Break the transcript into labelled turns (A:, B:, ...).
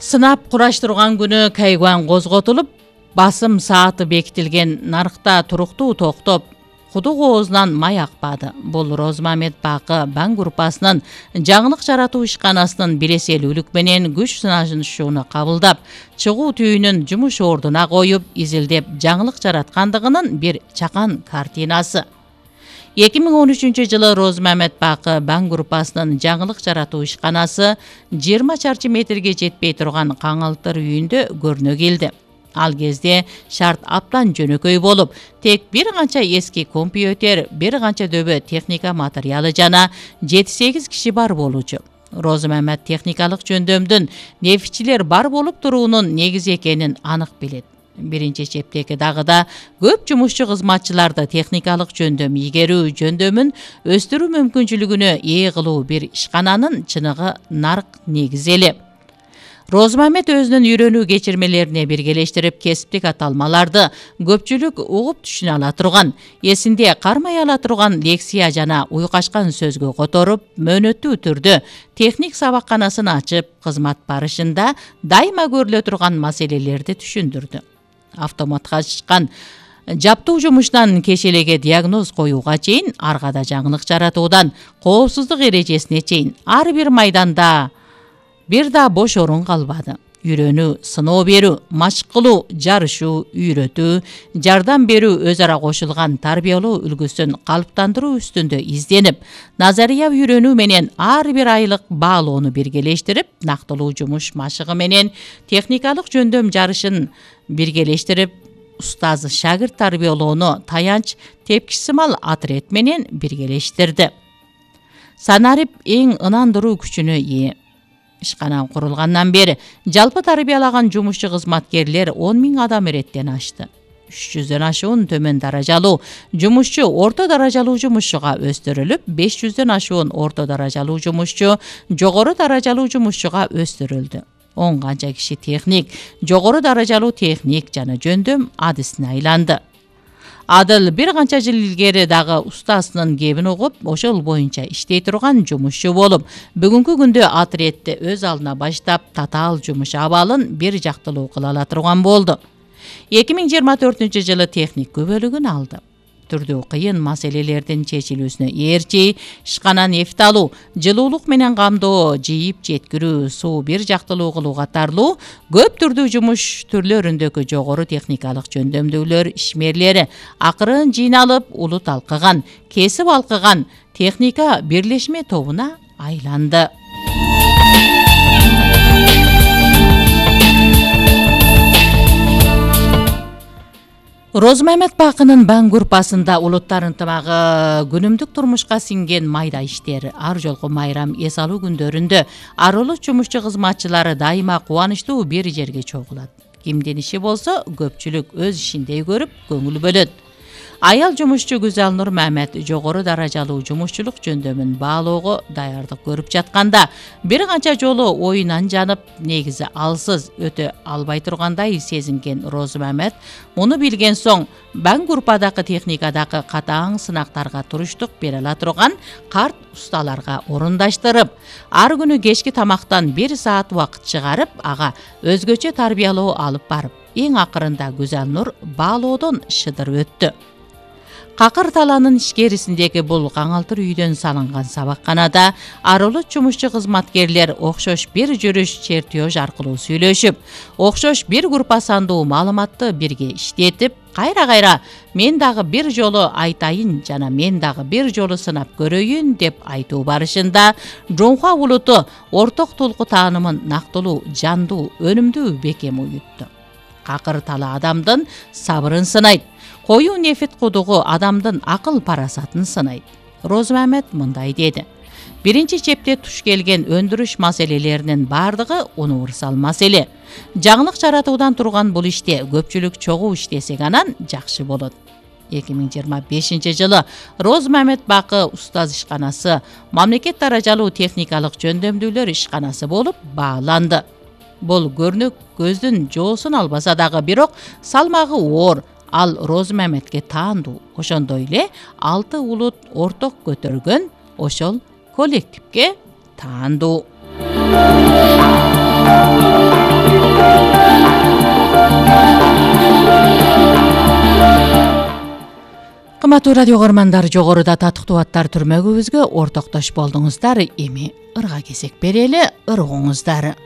A: Сынап кураштырган күнү Кайгуан козготулуп, басым сааты бекитилген нарыкта туруктуу токтоп, кудук оозунан май акпады. Бул Розмамет Бакы Бан группасынын жаңылык жаратуу ишканасынын биреселүүлүк менен күч сынашууну кабылдап, чыгуу түйүнүн жумуш ордуна коюп, изилдеп жаңылык жараткандыгынын бир чакан картинасы. 2013-жылы Розмамет Бакы Бан группасынын жаңылык жаратуу ишканасы 20 чарчы метрге жетпей турган каңалтыр үйүндө көрүнө келди. Ал кезде шарт аптан жөнөкөй болуп, тек бир канча эски компьютер, бир канча дөбө техника материалы жана 7-8 киши бар болчу. Розмамет техникалык жөндөмдүн нефтчилер бар болуп туруунун негизи экенин анык билет. Биринчи чептеги дагыда көп жумушчу кызматчыларды техникалык жөндөм ийгерүү жөндөмүн өстүрүү мүмкүнчүлүгүнө ээ кылуу бир ишкананын чыныгы нарк негизи эле. Розмамет өзүнүн үйрөнүү кечирмелерине биргелештирип кесиптик аталмаларды көпчүлүк угуп түшүнө ала турган, эсинде кармай ала турган лексия жана уйкашкан сөзгө которуп, мөөнөттүү түрдө техник сабакканасын ачып, кызмат барышында дайыма көрүлө турган маселелерди түшүндүрдү. Автоматташкан жаптуу жумуштан кешелеге диагноз коюуга чейин, аргада жаңылык жаратуудан коопсуздук эрежесине чейин ар бир майданда бир да бош орун калбады. Үйрөнүү, сыноо берүү, машык кылуу, жарышуу, үйрөтүү, жардам берүү өз ара кошулган тарбиялоо үлгүсүн калыптандыруу үстүндө изденип, назария үйрөнүү менен ар бир айлык баалоону биргелештирип, нактылуу жумуш машыгы менен техникалык жөндөм жарышын биргелештирип, устаз шагирт тарбиялоону таянч тепкичсимал отряд менен биргелештирди. Санарип эң ынандыруу күчүнө ээ. Ишкана курулгандан бери жалпы тарбиялаган жумушчу кызматкерлер 10 000 адам эреттен ашты. 300дөн ашуун төмөн даражалуу жумушчу орто даражалуу жумушчуга өстүрүлүп, 500дөн ашуун орто даражалуу жумушчу жогору даражалуу жумушчуга өстүрүлдү. 10 канча киши техник, жогору даражалуу техник жана жөндөм адисине айланды. Адыл бир канча жыл илгери дагы устасынын кебин угуп, ошол боюнча иштей турган жумушчу болуп, бүгүнкү күндө отрядты өз алдына баштап, татаал жумуш абалын бир жактылуу кыла ала турган болду. 2024-жылы техник күбөлүгүн алды. Түрдүү кыйын маселелердин чечилүүсүнө ээрчи, ишкана нефт алуу, жылуулук менен камдоо, жийип жеткирүү, суу бир жактылуу кылуу катарлуу көп түрдүү жумуш түрлөрүндөгү жогору техникалык жөндөмдүүлөр ишмерлери акырын жыйналып, улут талкыган, кесип алкыган техника бирлешме тобуна айланды. Розмамет Бакынын Бан группасында улуттар ынтымагы күнүмдүк турмушка сиңген майда иштер. Ар жолку майрам эс алуу күндөрүндө арылык жумушчу кызматчылары дайыма кубанычтуу бир жерге чогулат. Кимдин иши болсо көпчүлүк өз ишиндей көрүп, көңүл бөлөт. Аял жумушчу Гүзалнур Мамет жогору даражалуу жумушчулук жөндөмүн баалоого даярдык көрүп жатканда, бир канча жолу оюнан жанып, негизи алсыз өтө албай тургандай сезинген Розмамет муну билген соң Бан группадагы техникадагы катаң сынактарга туруштук бере ала турган карт усталарга орундаштырып, ар күнү кечки тамактан 1 саат убакыт чыгарып, ага өзгөчө тарбиялоо алып барып, эң акырында Гүзалнур баалоодон шыдыр өттү. Какыр таланын ишкерисиндеги бул каңалтыр үйдөн салынган сабакканада арылык жумушчу кызматкерлер окшош бир жүрүш чертеж аркылуу сүйлөшүп, окшош бир группа сандуу маалыматты бирге иштетип, кайра-кайра мен дагы бир жолу айтайын жана мен дагы бир жолу сынап көрөйүн деп айтуу барышында жоңхуа улуту орток толку таанымын нактылуу, жандуу, өнүмдүү бекем уютту. Какыр тала адамдын сабырын сынайт. Коюу нефит кудугу адамдын акыл парасатын сынайт. Розмамет мындай деди. Биринчи чепте туш келген өндүрүш маселелеринин бардыгы универсал маселе. Жаңылык жаратуудан турган бул иште көпчүлүк чогуу иштесек анан жакшы болот. 2025-жылы Розмамет Бакы устаз ишканасы мамлекет даражалуу техникалык жөндөмдүүлөр ишканасы болуп бааланды. Бул көрнөк көздүн жоосун албаса дагы, бирок салмагы оор. Ал Розмаметке таандуу. Ошондой эле 6 улут орток көтөргөн ошол коллективге таандуу. Урматтуу радио көрмандар, жогоруда татыктуу аттар түрмөгүбүзгө ортоктош болдуңуздар. Эми ырга кезек берели, ыргыңыздар.